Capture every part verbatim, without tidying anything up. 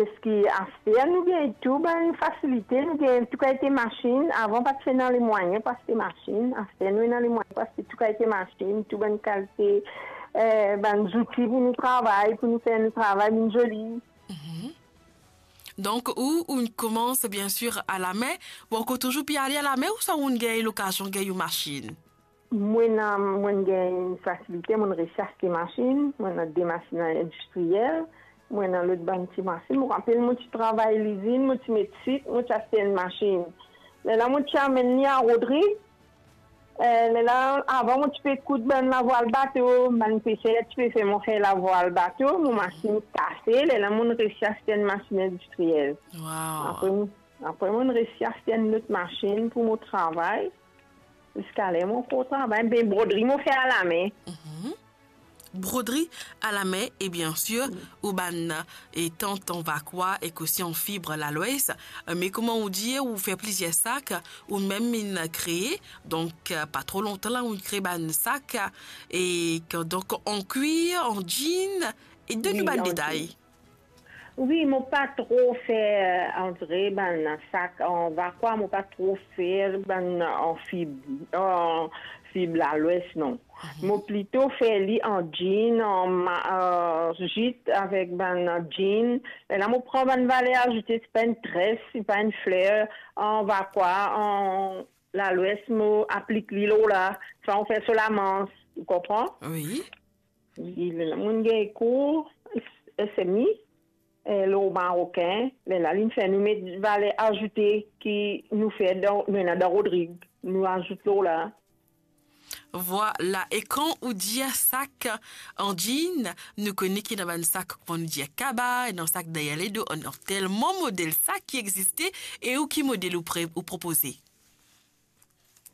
Parski aster nou gagn tou bann fasilite, nou gagn tou kalite masinn. Avan pa ti ena lemwayin pou aste masinn, aster nou ena lemwayin pou aste tou kalite masinn, tou bann kalite, eh, bann zouti pou nou travay, pou nou fer nou travay vinn zoli. Mhm. Donk, ou, ou koumans, bien sir, alame, ou ankor touzour pe ale alame, ouswa ou gagn lokazion gagn masinn? Mwa, ena, mo gagn fasilite, mo resi aste masinn, mo ena de masinn indistriyel, mo ena lot bann ti masinn. Mo rapel mo ti travay lizinn, mo ti met sik, mo ti aste enn masinn. Lerla mo ti amenn li a Rodrig. Eh, lerla, avan mo ti pe koud bann lavwal bato, bann peser ti pe fer mo fer lavwal bato, mo masinn kase, lerla mo resi aste enn masinn indistriyel. Wow. Apre mo, apre mo resi aste enn lot masinn pou mo travay. Ziska ler mo ankor travay, be brodri mo fer alame. Mhm. Brodri alame, e bien sir, ou bann, e, tant an vakwa ek osi an fib lalwes, e, me kouma ou dir, ou fer plizier sak, ou mem inn kree, donk, e, pa tro lontan la, ou inn kree bann sak, e, donk, an kwir, an jean, e donn nou bann detay. Wi, mo pa tro fer, antre bann sak an vakwa, mo pa tro fer bann an fib, an fib lalwes, non. Mo plito fer li an jean, an ma-, an jit avek bann jean. Lerla mo pran bann valer azoute, se pa enn tres, se pa enn fler, an vakwa, an lalwes, mo aplik li lor la, sa mo fer so lamans, ou konpran? Wi. Wi, lerla mo gagn kour S M I, e, lor marokin, lerla li fer nou met valer azoute ki nou fer dan, nou ena dan Rodrig, nou azout lor la. Vwala, e kan ou dir sak an jean, nou kone ki ena bann sak, kouma nou dir, kaba, ena sak deryer ledo, ena telman model sak ki existe, e ou ki model ou pre-, ou propoze?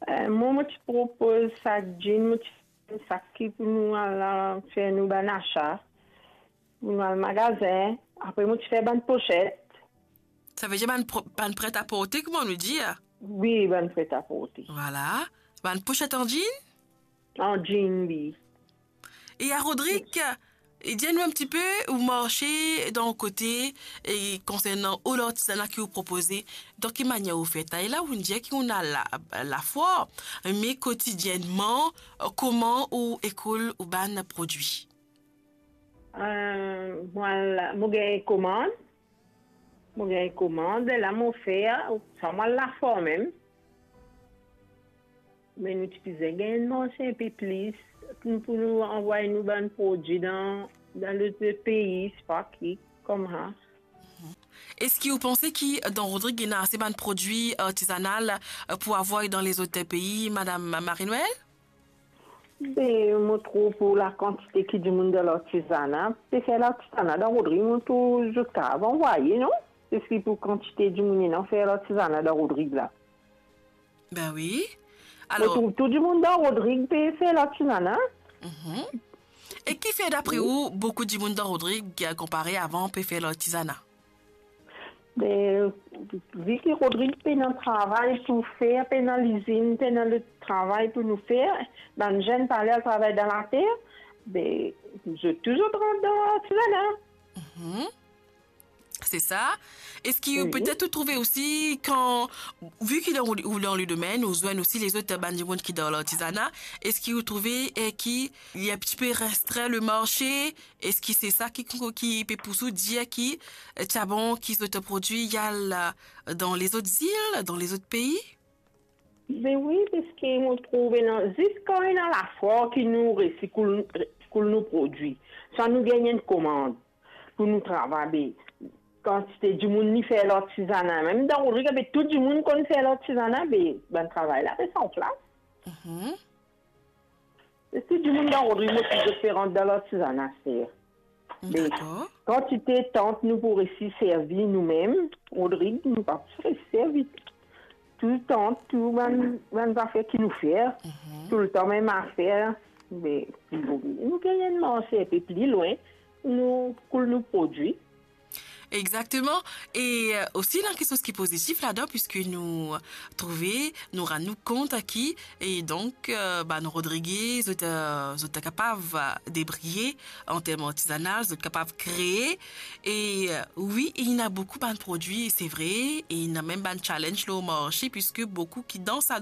Eh, mwa, mo ti propoz sak jean, mo ti fer sak ki pou nou al, fer nou bann asa, pou nou al magazin. Apre mo ti fer bann poset. Savedir bann pro-, bann pret a porte, kouma nou dir? Wi, bann pret a porte. Vwala. Bann poset an jean? An jean, wi. E a Rodrig, e dir nou enn tipe, ou marse dan kote, e konsernan ou lartizana ki ou propoze, dan ki manier ou fer? Tala ou dir ki ou ena la, lafwar, me kotidiennman, kouma ou ekoul ou bann prodwi? Eh, mwa, la, mo gagn komand. Mo gagn komand, la mo fer, sa mwa lafwar mem. Me nou ti bizin gagn marse enn pe plis, pou, pou nou anvway nou bann prodwi dan, dan lot pei, sipa ki, koumsa. Eski ou panse ki dan Rodrig ena ase bann prodwi artizanal, e, pou anvway dan lezot pei, Madam Marie-Noëlle? Be, mo trouv pou lakantite ki dimoun dan lartizana, pe fer lartizana dan Rodrig, mo trouv zot kapav anvwaye, non? Eski pou kantite dimoun ena fer lartizana dan Rodrig la? Be wi. Mo trouv tou dimoun dan Rodrig pe fer lartizana. Mhm. E ki fer dapre ou boukou dimoun dan Rodrig, e, konpare avan pe fer lartizana? Be, vi ki Rodrig pena travay pou fer, pena lizinn, pena lot travay pou nou fer, bann zenn pa ale al travay dan later, be, zot tou zot rant dan lartizana. Mhm. Se sa. Eski ou, petet ou trouve osi, kan, vi ki dan, ou dan ledwin, ou zwenn osi lezot bann dimoun ki dan lartizana, eski ou trouve, e, ki li enn tipe restrin le marse, eski se sa ki, ki pe pous ou dir ki, e, ti a bon ki zot prodwi al, e, dan lezot zil, dan lezot pei? Be wi, parski mo trouv ena, zis kan ena lafwar ki nou resi koul, koul nou prodwi. Sa nou gagn enn komand pou nou travay, be, kantite dimoun ki fer lartizana. Mem dan Rodrig, be, tou dimoun konn fer lartizana, be, bann travay la pe san plas. Mhm. E tou dimoun dan Rodrig, mo trouv zot pe rant dan lartizana, se. Be, kantite tant nou pou resi servi noumem, Rodrig, nou pa pou resi servi tou tant, tou bann, bann zafer ki nou fer, toultan mem zafer, be, nou gagn enn marse enn pe pli lwin, nou koul nou prodwi. Exakteman. E euh, osi ena kiksoz ki pozitif ladan, piski nou trouve, nou rann nou kont ki, e donk, euh, bann Rodrige, zot, euh, zot kapav euh, debriye an term artizanal, zot kapav kree. E euh, wi, e ena boukou bann prodwi, se vre, e ena mem bann challenge lor marse, piski boukou ki dan sa